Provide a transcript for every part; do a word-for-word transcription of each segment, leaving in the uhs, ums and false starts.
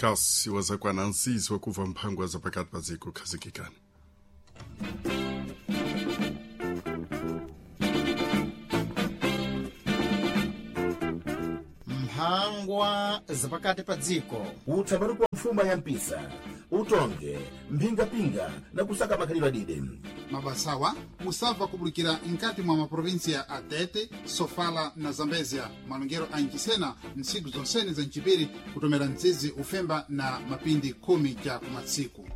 Kasi wazakwana nsizi wakuva mphangwa za pakati pa dziko khazikikani. Mphangwa zapakati pa dziko. Utsamani kwa mfuma ya mpisa, utonge mphingapinga na kusaka makhalidwe adide. Mabasawa musabva kubulikira mkati mwa maprovinsia a Tete, Sofala na Zambezia, malongero a Ncisena ntsiku zonsene za ncipiri kutomera mdzidzi ufemba na mapindi khumi ca kumatsiku.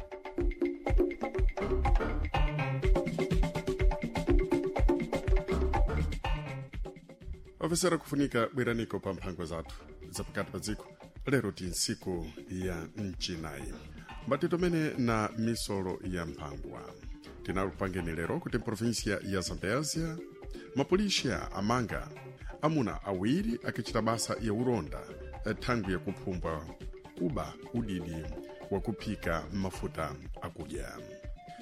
Ofisera kufunika bweraniko pa mphangwa zathu zapakati pa dziko lero ti ntsiku ya mchinayi mbati tomene na misolo ya mphangwa tinalupangeni lero kuti mprovinsia ya Zambésia mapolisia amanga amuna awiri akichita basa ya ulonda thangwi yakuphumbwa kuba udidi wakuphika mafuta akudya.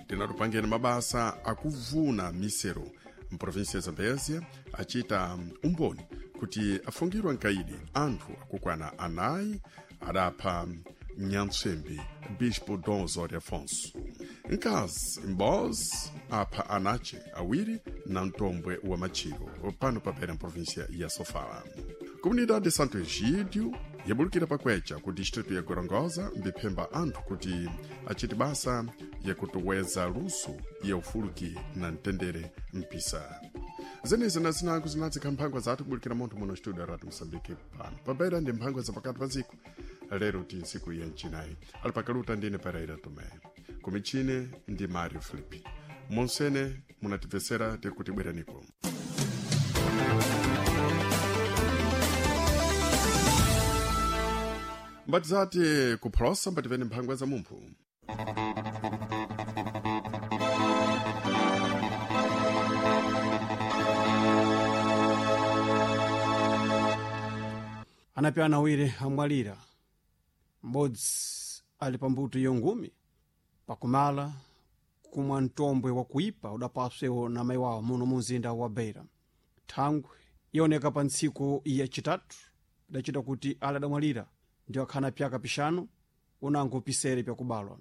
Tinalupangeni mabasa akuvuna misero mprovinsia ya Zambésia achita umboni kuti afungirwa nkaidi anthu akukwana anayi adapha nyantswembi Bispo Dom Osório Afonso. Nkazi mbozi apha anache awiri na mtombwe wa machiro pano papera mprovinsia ya Sofala. Comunidade de Santo Egídio yabulukira pakwecha ku distrito ya Gorongosa mbiphemba anthu kuti achite basa yakutuweza luso ya ufuluki na mtendere mpisa. Zenezi na zinango zinadzikha mphangwa zathu kubulikira munthu muno studio ya Radio Mosambike pano pabeira ndi mphangwa zapakati pa dziko lero ti ntsiku ya mchinayi ali pakaluta ndine Pereira Tomé kumichine ndi Mario Filipe monsene munatibvesera tiri kuti bweraniko. Mbati zati kuphosa mbati pene mphangwa za mumphu. Anapi awiri amwalira, m'bodzi ali pambuto yongumi pakumala kumwa mtombwe wakuipa udapaswewo na mayi wawo muno mu mzinda wa Beira. Thangwi ioneka pa ntsiku yacitatu idacita kuti ali adamwalira ndio akhana pyaka pixanu unango pisere pyakubalwa.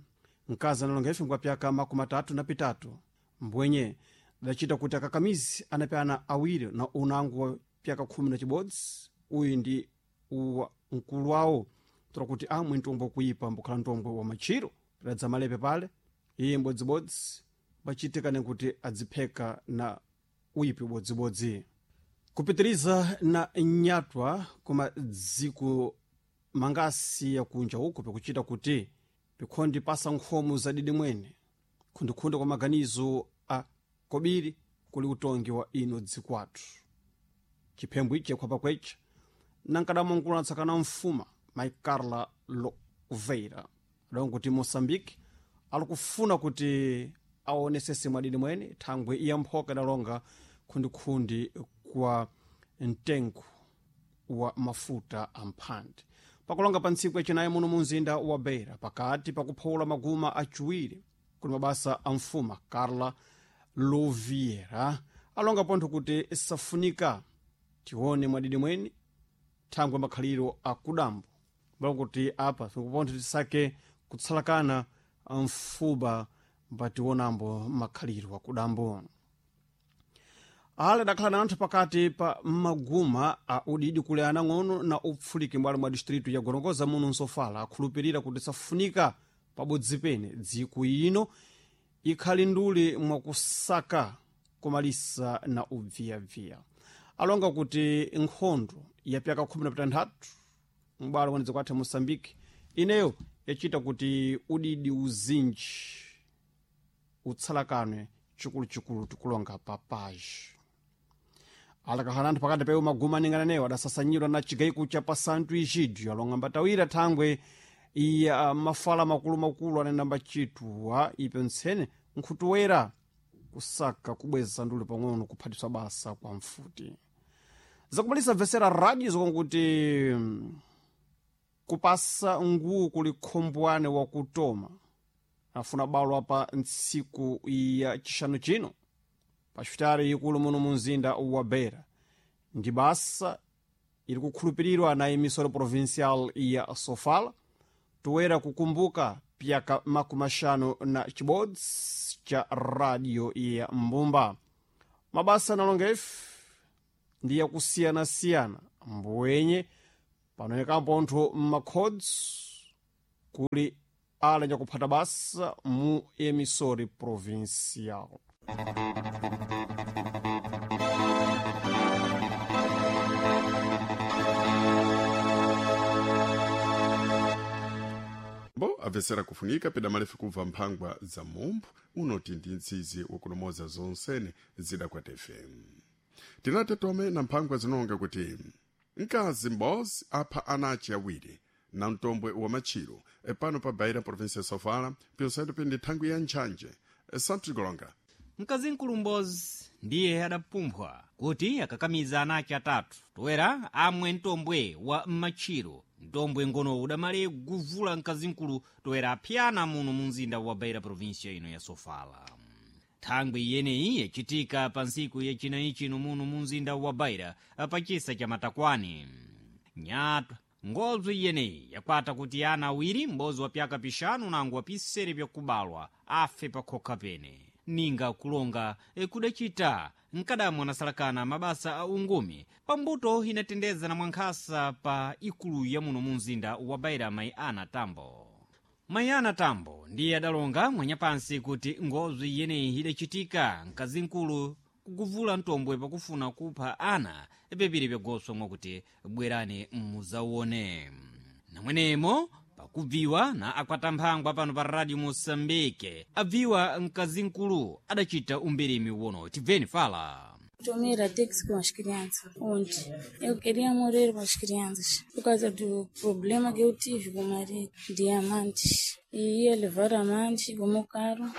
Mkazi analonga ife ngwa pyaka makumi atatu na pitatu mbwenye idacita kuti akakamizi anapyana awiri na unango wa pyaka khumi na cibodzi uyu ndi uwa mkulu wawo tola kuti amwe mtombwe wakuipa mbukhala mtombwe wa machiro pidadza malepe pale iye mbodzibodzi pachitikane kuti adzipheka na uyipi ubodzibodzi. Kupitiriza na nyatwa koma dziko mangasi yakunja uko pikuchita kuti pikhondi pasa nkhomo zadidi mwene khundikhunde kwa maganizo a kobiri kuli utongi wa ino dzikwathu. Chiphembo ichi yakhwapa kwecha nankadamwankulu anatsakana mfuma mai Carla Louveira adongo kuti Moçambique alikufuna kuti aonesese mwadidi mwene thangwe iya mphoka idalonga khundikhundi kwa mtengo wa mafuta amphandi pakulonga pa ntsiku yacinayi muno mu mzinda wa Beira pakati pakuphawula maguma aciwiri kuli mabasa a mfuma Carla Louviera alonga pontho kuti safunika tione mwadidi mwene thangwe makhaliro akudambo mbalo kuti apa tikupontho tisake kutsalakana mfuba mbationambo makhaliro akudambo. Ale adakhala na anthu pakati pa maguma a udidi kuli anang'ono na upfuliki m'bwalo mwa distritu ya Gorongosa muno Nsofala akhulupirira kuti safunika pabodzi pene dziko ino ikhali nduli mwakusaka kumalisa na ubviyabviya. Alonga kuti nkhondo ya pyaka khumi na pitanthatu m'bwalo mwa dziko athu Moçambique ineyo yachita kuti udidi uzinji utsalakanwe chikuluchikulu tikulonga pa paji. Alakakhala anthu pakati pewo maguma aningana newo adasasanyidwa na chigaiko cha pa Santo Egidio alonga mbatawira thangwe ya mafala makulumakulu anena mbachitwa ipo ntsene nkhutuwera kusaka kubweza nduli pang'ono kuphatiswa basa kwa mfuti. Zakumalisa bvesera radio zokonkuti kupasa nguwu kuli khombwane wakutoma afuna balwa pa ntsiku ya chixanu chino pa xipitali ikulu muno mu mzinda wa Beira ndi basa ili kukhulupirirwa na emissora provincial ya Sofala Toera kukumbuka pyaka makumi axanu na chibodzi cha radio ya Mbumba. Mabasa nalonga ife ndi yakusiyanasiyana mbwenye panonekampo nthu mmakhodzi kuli ala nyakuphata basa mu emissori provincial. Bo amvetsera kufunika peda malefu kubva mphangwa za mumphu unoti ndi mzizi wakulomoza zonsene zidakwate F M. Tinate tome na mphangwa zinonga kuti mkazi m'bozi apha ana ace awiri na mtombwe wa matchiro pano pa Beira, província ya Sofala, pinsendo pindi thangwi ya ntchanje. Santos Golonga. Mkazi mkulumbozi ndiye adapumphwa kuti akakamiza ana ake atatu toera amwe mtombwe wa m'matchiro. Mtombwe ngono udamale guvula mkazimkulu toera aphyana muno mu mzinda wa Beira, província ino ya Sofala. Thangwi iyeneyi yachitika pa ntsiku yacinayi chino muno mu mzinda wa Beira, pachisa cha Matakwani. Nyatwa ngozo iyeneyi yakwata kuti ana awiri, m'bodzi wa pyaka pixanu nango wa pisere pyakubalwa, afe pakhokha pene ninga kulonga kudacita mkadamwa anasalakana mabasa a ungumi pambuto inatendeza na mwankhasa pa ikulu ya muno mu mzinda wa Beira. Mayi Ana Tambo, mayi Ana Tambo ndiye adalonga mwanyapansi kuti ngozo iyeneyi idacitika mkazimkulu kuguvula mtombwe pakufuna kupha ana pepiri pyagoso mwakuti bwerani muzawone namwenemo pakubviwa na akwatamphangwa pano pa Radio Moçambique abviwa mkazimkulu adacita umbirimi wono. Tibveni fala. Tomei Ratex com as crianças ontem. Eu queria morrer com as crianças por causa do problema que eu tive com o marido, de amantes. E ia levar amantes com o meu carro.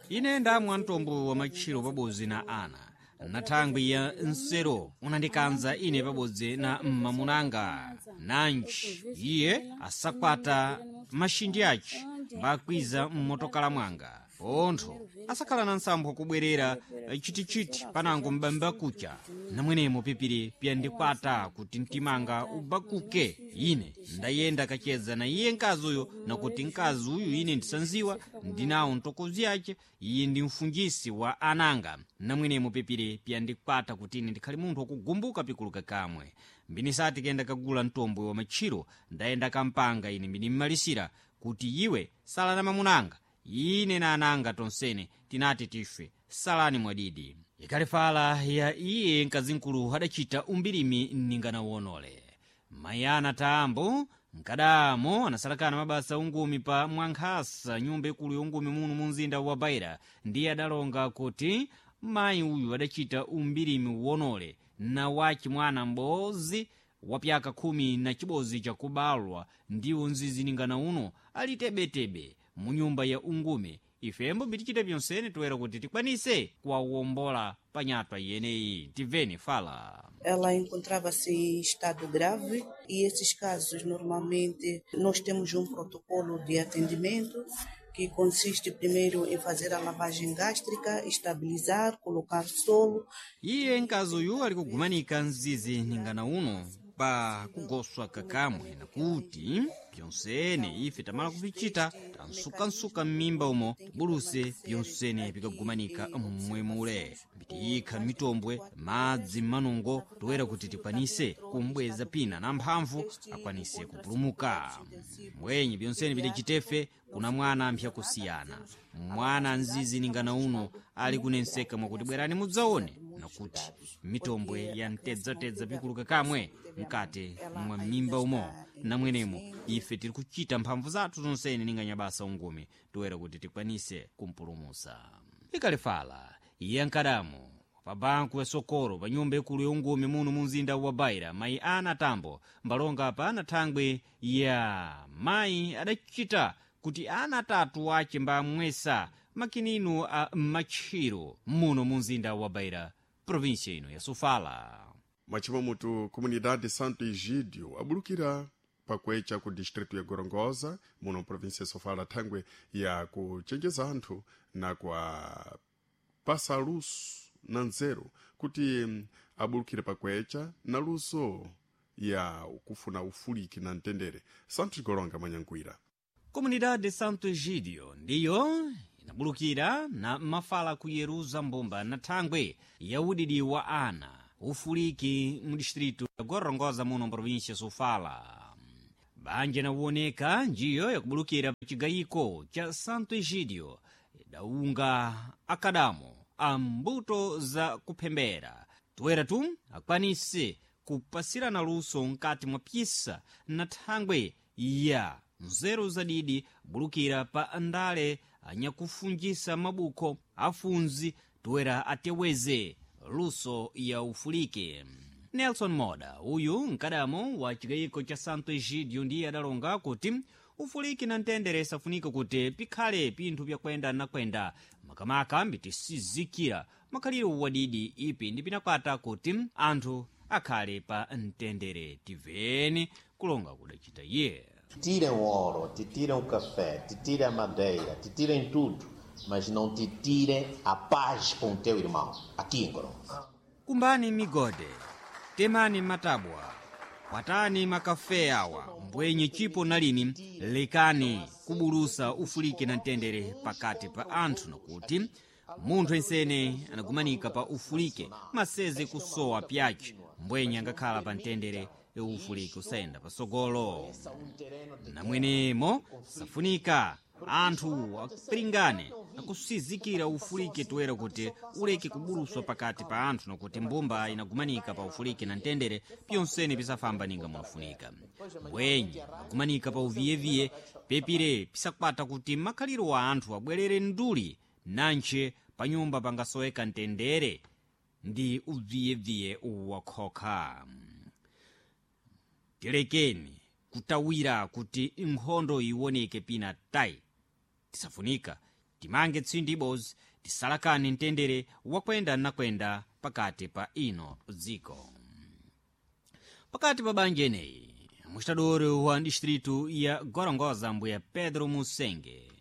Ine ndamwa mtombo wa matchiro pabodzi na ana na thangwi ya nsero unandikanza ine pabodzi na mmamunanga nanji iye asakwata maxindi ace mbakwiza mmotokala mwanga pontho asakhala na nsampho kubwerera chitichiti panango mbamba kucha namwenemo pipiri pyandikwata kuti mtimanga ubakuke. Ine ndayenda kacheza na iye mkazi uyo, nakuti mkazi uyu ine ndisanziwa ndinawo ntokozi yace, iye ndi mfunjisi wa ananga. Namwenemo pipiri pyandikwata kuti ine ndikhale munthu wakugumbuka pikuluka kamwe mbinisati kenda kagula mtombwe wa matchiro. Ndayenda kampanga ine mbinimmalisira kuti iwe sala na mamunanga, ine na ananga tonsene tinati tife, salani mwadidi. Ikalefala ya iye mkazimkulu adacita umbirimi ninganawonole. Mayi Ana Tambo mkadamo anasalakana mabasa ungumi pa mwankhasa nyumba ikulu yongumi muno mu mzinda wa Beira ndiye adalonga kuti mayi uyu adacita umbirimi wonole na waci mwana m'bodzi wa pyaka khumi na chibodzi chakubalwa ndiwo nziziningana uno ali tebetebe mu nyumba ya ungume. Ifembo bitichita byonsene toera kuti tikwanise kuwawombola panyatwa iyeneyi. Tiveni fala. Ela encontrava-se em estado grave e esses casos normalmente nós temos um protocolo de atendimento que consiste primeiro em fazer a lavagem gástrica, estabilizar, colocar solo. Iye mkazi uyu ali kugumanika mzizi ningana uno pa kugoswa kakamwe nakuti pyonsene ife tamala kupichita tansukansuka m'mimba umo tibuluse pyonsene pikagumanika mmwemule mbitiyikha mitombwe madzi m'manungo toera kuti tikwanise kumbweza pina na mphamvu akwanise kupulumuka. Mbwenye pyonsene pidacitefe kuna mwana mpyakusiyana mwana mzizi ningana uno ali kunenseka mwakuti bwerani mudzaone nakuti mitombwe ya mtedzatedza pikuluka kamwe mkati mwa mimba umo. Namwenemo ife tiri kuchita mphamvu zathu zonsene ninganyabasa ungumi toera kuti tikwanise kumpulumusa. Ikalefala iye ankadamo pa banku ya Sokoro pa nyumba ikulu yongumi muno mu mzinda wa Beira, mayi Ana Tambo mbalonga pa ana thangwi ya mayi adachita kuti ana atatu ace mbamwesa makinino a matchiro muno mu mzinda wa Beira, província ino ya Sofala. Mwachimamutu comunidade Santo Egídio abulukira pakwecha ku distrito ya Gorongosa muno província ya Sofala thangwe ya kuchenjeza anthu na kwa pasa luso na nzeru kuti abulukire pakwecha na luso ya kufuna ufuliki na mtendere. Santos Golonga mwanyankhwira. Comunidade de Santo Egidio ndiyo inabulukira na mafala kuyeruza mbumba na thangwe ya udidi wa ana ufuliki mu distritu ya Gorongosa muno mprovinsia Sofala. Banja nawoneka njiyo yakubulukira pa chigayiko cha Santo Egidio idaunga akadamo a mbuto za kuphembera toera tu akwanise kupasirana luso mkati mwa pyisa na thangwe ya nzeru zadidi bulukira pa ndale anyakufunjisa mabuko afunzi toera ateweze luso ya ufulike. Nelson Moda uyu mkadamo wa chigayiko cha Santo Egidio ndiye adalonga kuti ufuliki na mtendere safunika kuti pikhale pinthu byakwenda nakwenda makamaka mbitisizikira makhaliro wadidi ipi ndi pinakwata kuti anthu akhale pa mtendere. Tiveni kulonga kudacita iye. Tirem o ouro, te tiram o café, te tirem a madeira, te tirem tudo, mas não te tirem a paz com o teu irmão, aqui em Gorongosa. Kumbani migode, temani matabwa, kwatani makafe awa mbwenye chipo nalini lekani kubulusa ufuliki na mtendere pakati pa anthu nokuti munthu ensene anagumanika pa ufulike maseze kusowa pyace mbwenye angakhala pa mtendere ufuliki usayenda pasogolo. Namwenemo safunika anthu apiringane akusizikira ufuliki toera kuti uleke kubuluswa pakati pa anthu nokuti mbumba inagumanika pa ufuliki na mtendere pyonsene pisafamba ninga munafunika. Mbwenye agumanika pa uviyeviye pepire pisakwata kuti makhaliro wa anthu abwerere nduli nantche pa nyumba pangasoweka mtendere ndi uviyeviye wakhokha. Tilekeni kutawira kuti nkhondo iwoneke pina tayi. Tisafunika timange tsindi ibodzi tisalakane mtendere wakwenda nakwenda pakati pa ino dziko. Pakati pa banja eneyi mustadori wa distritu ya Gorongosa mbuya Pedro Musenge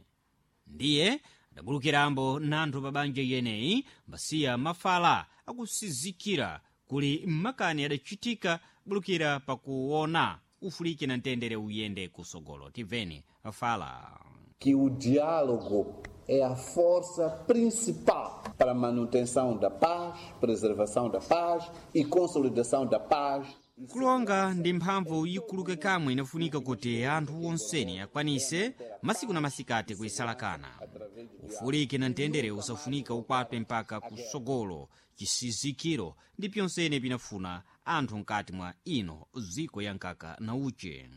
ndiye adabulukirambo nanthu pa banja yeneyi mbasiya mafala akusizikira kuli makani adachitika bulukira pakuona ufuliki na mtendere uyende kusogolo. Tiveni fala. Que o diálogo é a força principal para a manutenção da paz, preservação da paz e consolidação da paz. Kulonga ndi mphamvu ikuluke kamwe inafunika kuti anthu onseni akwanise masiku na masikati kuisalakana. Ufuliki na mtendere usafunika ukwatwe mpaka kusogolo chisizikiro ndi pyonsene pinafuna anthu mkati mwa ino ziko ya nkaka na uche.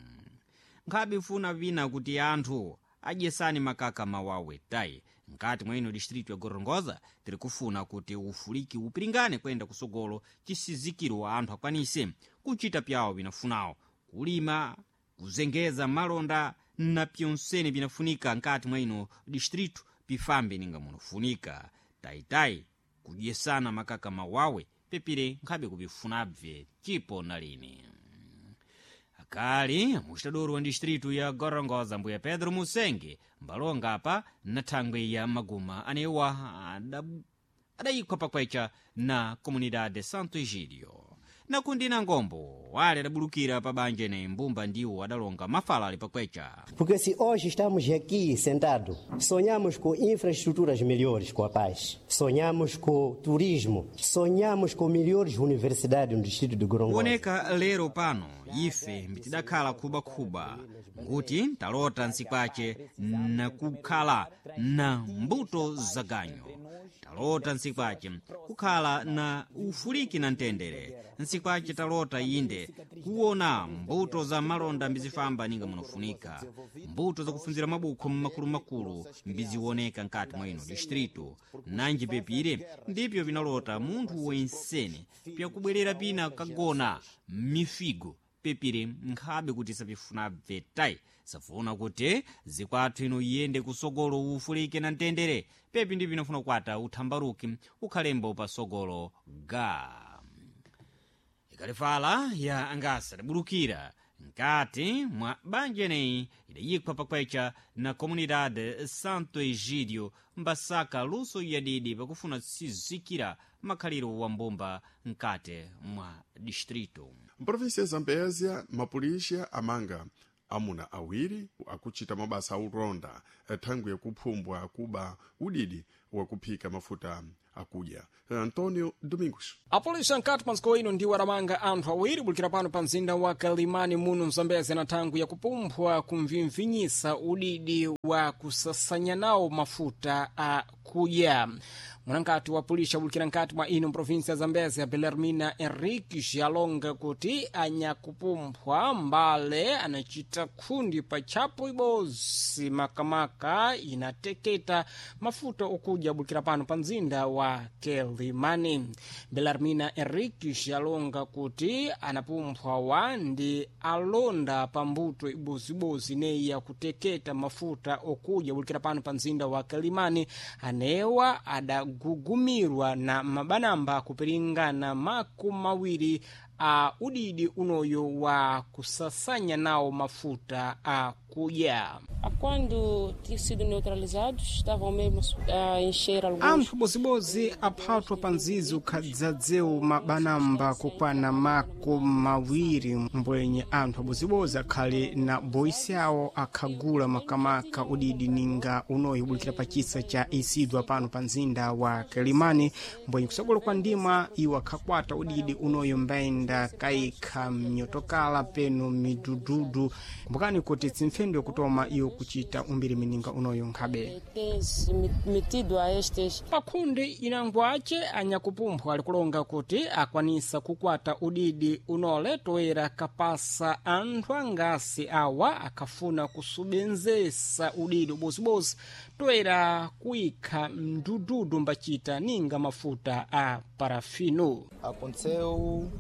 Nkhabe ifuna vina kuti anthu adyesani makaka mawawe tayi mkati mwa ino distritu ya Gorongosa tiri kufuna kuti ufuliki upiringane kwenda kusogolo chisizikiro anthu akwanise kuchita pyawo pinafunawo kulima kuzengeza malonda na pyonsene pinafunika mkati mwa ino distritu pifambe ninga munofunika tayitayi kudyesana makaka mawawe pepire nkhabe kupifunabve chipo na lini. Akali mustadori wa distritu ya Gorongosa mbuya Pedro Musenge mbalonga apa na thangwe ya maguma anewa adayikhwa pakwecha na Comunidade Santo Egidio. Nakundi na ngombo wale adabulukira pa banja ene mbumba ndiwo adalonga mafala ali pakwecha. Porque se hoje estamos aqui sentados, sonhamos com infraestruturas melhores com a paz, sonhamos com turismo, sonhamos com melhores universidades no distrito de Gorongosa. Kuoneka lero pano ife mbitidakhala khubakhuba nkuti talota nsikwace nakukhala na mbuto zaganyo talota nsikwace kukhala na ufuliki na mtendere nsikwace talota inde kuona mbuto za malonda mbizifamba ninga munofunika mbuto zakufunzira mabukho mmakulumakulu mbiziwoneka nkati mwa ino distritu nanji pepire ndipyo vinalota munthu wensene pyakubwerera pina kagona mifigo pepire nkhabe kuti sapifuna bvetayi safuna kuti zikwathu ino iyende kusogolo ufulike na mtendere pepi ndi pinofuna kukwata uthambaruki ukhalembo pasogolo ga ikalifala ya angasa idabulukira nkati mwa banja eneyi idayikhwa pakwecha na Comunidade Santo Egidio mbasaka luso yadidi pakufuna sizikira makhaliro wa mbumba nkati mwa distrito. Mprovinsia ya Zambésia, mapolisia amanga Amuna awiri akuchita mabasa aulonda thangwi yakuphumbwa akuba udidi wakuphika mafuta akudya. Antonio Domingos. Apolisi ankati panziko ino ndiwo adamanga anthu awiri bulikira pano pa mzinda wa Kalimani muno Mzambezi na thangwi yakupumphwa kumvimvinyisa udidi wa kusasanya nawo mafuta a kudya. Mwanangati wa polisi abulikira nkati mwa ino mprovinsi ya Zambezi Belarmina Henriques alonga kuti anyakupumphwa mbale anachita khundi pa tchapo ibozi makamaka inateketa mafuta okudya abulikira pano pa mzinda wa Quelimane. Belarmina Henriques alonga kuti anapumphwa wa ndi alonda pa mbuto ibozibozi neyi yakuteketa mafuta okudya abulikira pano pa mzinda wa Quelimane anewa adagugumirwa na mabanamba kupiringana makumi mawiri a udidi unoyo wa kusasanya nawo mafuta a kudya. Quando tinham sido neutralizados, estavam mesmo a encher alguns. Anthu bozibozi aphathwa pa nzizi ukhadzadzewu mabanamba kukwana makumi mawiri mbwenye anthu abozibozi akhali na boisi awo akhagula makamaka udidi ninga unoyi ubulikira pa chisa cha Isidwa pano pa mzinda wa Quelimane mbwenye kusogolo kwa ndima iwo akhakwata udidi unoyo mbayenda kaikha mnyotokala peno midududu. Kumbukani kuti tsimfendo yakutoma iwo kuchita umbiri mininga unoyo nkhabe. Metido a estes. Pakhundi inango ace anyakupumpha alikulonga kuti akwanisa kukwata udidi unole toera kapasa anthu angasi awa akhafuna kusubenzesa udidi ubozibozi toera kuikha mdududu mbachita ninga mafuta a parafino. Aconteceu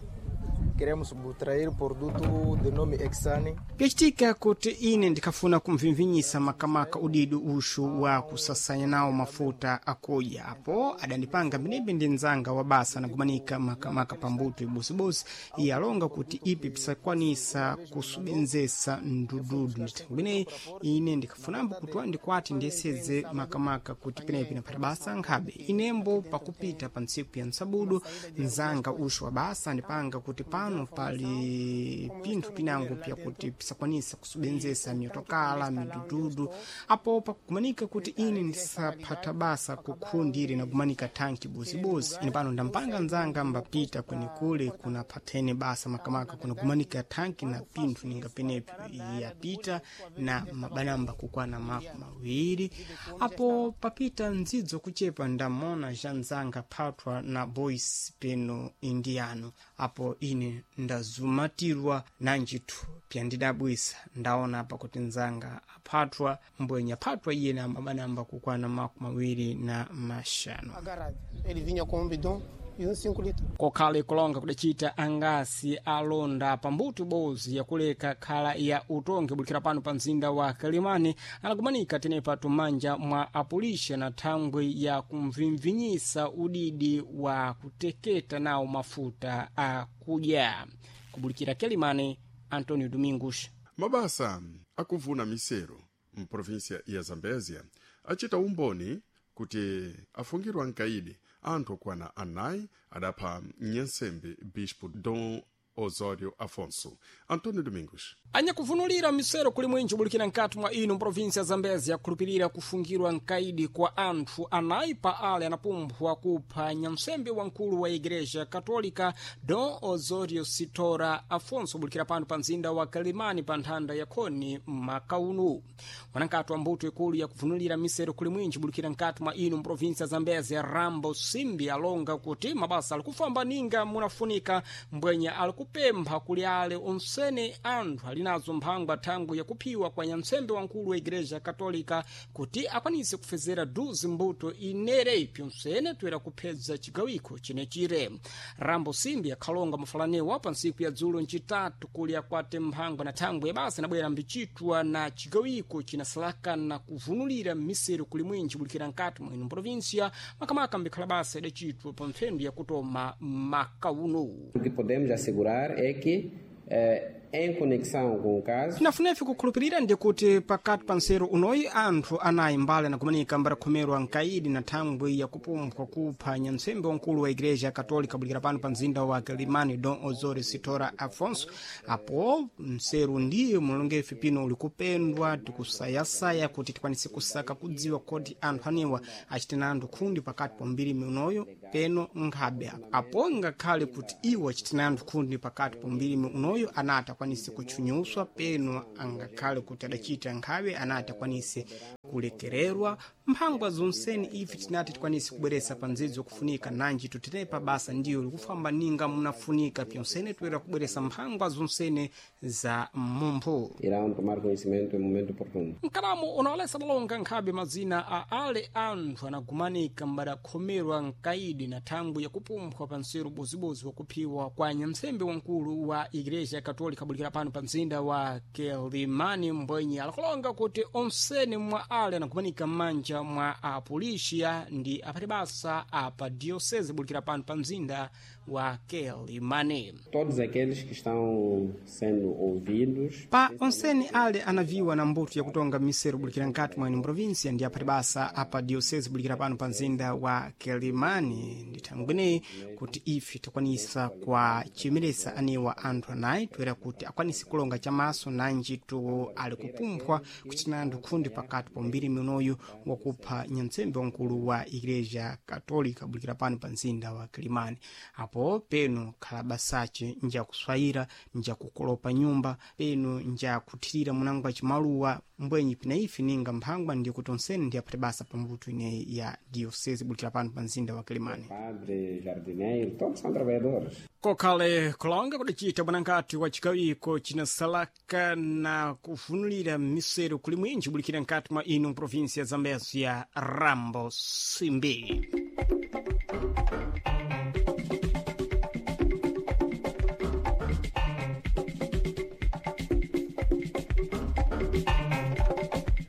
queremos subtrair produto de nome Exane. Pyacitika kuti ine ndikhafuna kumvimvinyisa makamaka udidi uxu wa kusasanya nawo mafuta akudya apo adandipanga mbenembe ndi nzanga wa basa anagumanika makamaka pambuto ibusibusi iye alonga kuti ipi pisakwanisa kusubenzesa mdududu. Ndithengo lineyi ine ndikhafunambo kuti wandikwati ndiyeseze makamaka kuti penepi naphata basa nkhabe inembo pakupita pa ntsiku ya msabudu nzanga uxu wa basa andipanga kuti pano pali pinthu pinango pyakuti pisakwanisa kusubenzesa miyotokala midududu apo pakumanika kuti ine ndisaphata basa kukhundire nakumanika thanki bozibozi ine pano ndampanga nzanga mbapita kwenekule kunaphathene basa makamaka kunakumanika thanki na pinthu ninga penepi yapita na mabanamba kukwana mako mawiri apo papita ndzidzo kuchepa ndamona ja nzanga phathwa na boys peno indiano apo ine ndazumatirwa nanjithu pyandidabwisa ndaona apa kuti nzanga aphathwa mbwenye aphathwa iye na mabanamba kukwana makumi mawiri na maxanu. Ele vinha com um bidon e um cinco litros. Kokhale kulonga kudacita angasi alonda pambuto bozi yakuleka khala ya utongi bulikira pano pa mzinda wa Quelimane anakumanika tenepa tumanja mwa apulisha na thangwi ya kumvimvinyisa udidi wa kuteketa nawo mafuta a kudya. Kubulikira Quelimane, Antonio Domingos. Mabasa akuvuna misero mprovinsia ya Zambezia achita umboni kuti afungirwa nkaidi anthu okwana anayi adapha nyensembe bispo Dom Osório Afonso. Antonio Domingos. Anyakuvunulira misero kuli mwinji ubulikira nkati mwa ino mprovinsi ya Zambezi akhulupirira kufungirwa nkaidi kwa anthu anayi pa ale anapumphwa kupha nyamsembe wamkulu wa igreja katolika Dom Osório Sitora Afonso ubulikira pano pa mzinda wa Quelimane pa nthanda ya khoni makaunu. Mwanankati wa mbuto ikulu yakuvunulira misero kuli mwinji ubulikira nkati mwa ino mprovinsi ya Zambezi Rambo Simbi alonga kuti mabasa alikufamba ninga munafunika mbwenye alikupempha kuli ale onsene anthu ali nazo mphangwa thangwi yakuphiwa kwa nyamtsembe wamkulu wa igreja katolika kuti akwanise kufezera duzi mbuto inere pyonsene toera kuphedza chigawiko chinechire. Rambo Simbi akhalonga mafalanewa pa ntsiku ya dzulo ncitatu kuli akwate mphangwa na thangwi ya basa inabwera mbicitwa na chigawiko chinasalaka na kuvunulira misero kuli mwinji bulikira nkati mwino mprovinsia makamaka mbikhala basa idacitwa pa mphendu yakutoma makauno. O que podemos assegurar é que eh, Em conexão com o caso, Tinafunefe kukhulupirira ndi kuti pakati pa nseru unoyi anthu anayi mbali anakumanika mbarakhomerwa nkaidi na thangwi yakupumpha kupha nyamtsembe wamkulu wa igreja katolika bulikira pano pa mzinda wa Quelimane Dom Osório Sitora Afonso. Apo nseru ndiye mulongefe pino uli kupendwa tikusayasaya kuti tikwanise kusaka kudziwa kodi anthu anewa achitina anthu khundi pakati pa mbirimi unoyo peno nkhabe. Apo ngakhale kuti iwo achitina anthu khundi pakati pa mbirimi unoyo anati akwanise kutchunyuswa peno angakhale kuti adachita nkhabe anati akwanise kulekererwa. Mphangwa zonseni ife tinati tikwanise kubweresa pa ndzidzi wakufunika nanji tutinepa basa ndiyo likufamba ninga munafunika pyonsene toera kubweresa mphangwa zonsene za mumphu. Irão tomar conhecimento em momento oportuno. Mkalamo unawalesa malonga nkhabe mazina a ale anthu anagumanika mbadakhomerwa nkaidi na thangwi yakupumphwa pa nseru bozibozi wakuphiwa kwa nyamtsembe wamkulu wa igreja katolika bulikira pano pa mzinda wa Quelimane mbwenye alakulonga kuti onsene mwa ale anagumanika m'manja mwa apolisiya ndi aphati basa apa diocese bulikira pano pa mzinda wa Quelimane. Todos aqueles que estão sendo ouvidos Pa onsene ale anaviwa na mbuto yakutonga miseru bulikira nkati mwa ino província ndi aphati basa apa diocese bulikira pano pa mzinda wa Quelimane. Ndi thangwi kuti ife tikwanisa kwa chimeresa anewa anthu anayi toera kuti akwanise kulonga chamaso nanji tu ali kupumphwa kuchita anthu khundi pakati pa mbiri minoyu wakupha nyamtsembe wamkulu wa igreja katolika bulikira pano pa mzinda wa Quelimane. Apo peno khala basace njakuswayira, njakukolopa nyumba, peno njakuthirira munango wa chimaluwa mbwenyi pina ife ninga mphangwa ndi kuti onsene ndi aphati basa pa mbuto ineyi ya diocese bulikira pano pa mzinda wa Quelimane. Padre, jardineiro, todos são trabalhadores. Kokhale kulonga kudacita bwanangati wa chikawiko chinasalaka na kuvunulira miseru kuli mwinji bulikira nkati mwa ino província ya Zambezia Rambo Simbi.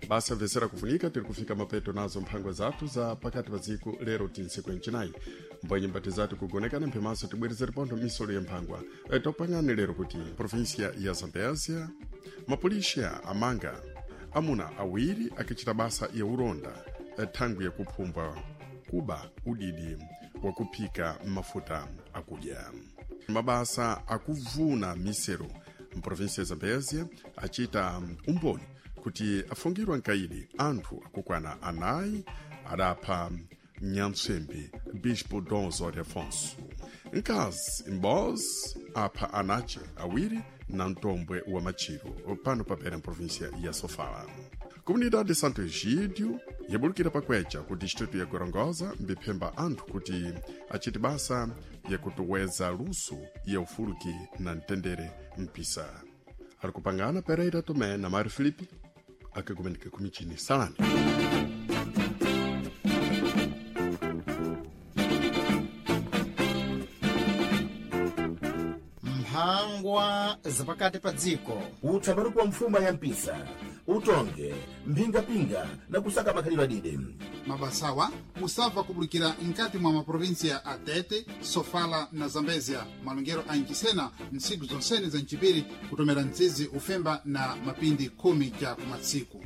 Basa vesera kufunika tiri kufika mapeto nazo mphangwa zathu za pakati pa dziko lero tintsiku encinayi mbwenye mbati zathu kugonekana mphemaso tibwerezere pontho misolo ya mphangwa. E, topangani lero kuti provinsia ya Zambésia mapolisiya amanga amuna awiri akichita basa ya ulonda e, thangwi yakuphumbwa kuba udidi wakuphika mafuta akudya. Mabasa akuvuna misero mprovinsia ya Zambésia achita umboni kuti afungirwa nkaidi anthu akukwana anayi adapha nyamtsembe bispo Dom Osório Afonso. Mkazi m'bozi apha anace awiri na mtombwe wa machiro pano papera mprovinsia ya Sofala. Comunidade de Santo Egídio yabulukira pakwecha ku distrito ya Gorongosa mbiphemba anthu kuti achite basa yakutuweza luso ya ufuluki na mtendere mpisa. Ali kupangana Pereira Tomé na Mário Felipe akakumenika kumichini salani. Mphangwa zapakati pa dziko. Utsabaruku wa mfuma ya mpisa utonge mphingapinga na kusaka makhalidwe adide. Mabasawa musabva kubulikira nkati mwa maprovinsia a Tete, Sofala na Zambezia. Malongero a Nchisena ntsiku zonsene za mchipiri kutomera mdzizi ufemba na mapindi khumi ja kumatsiku.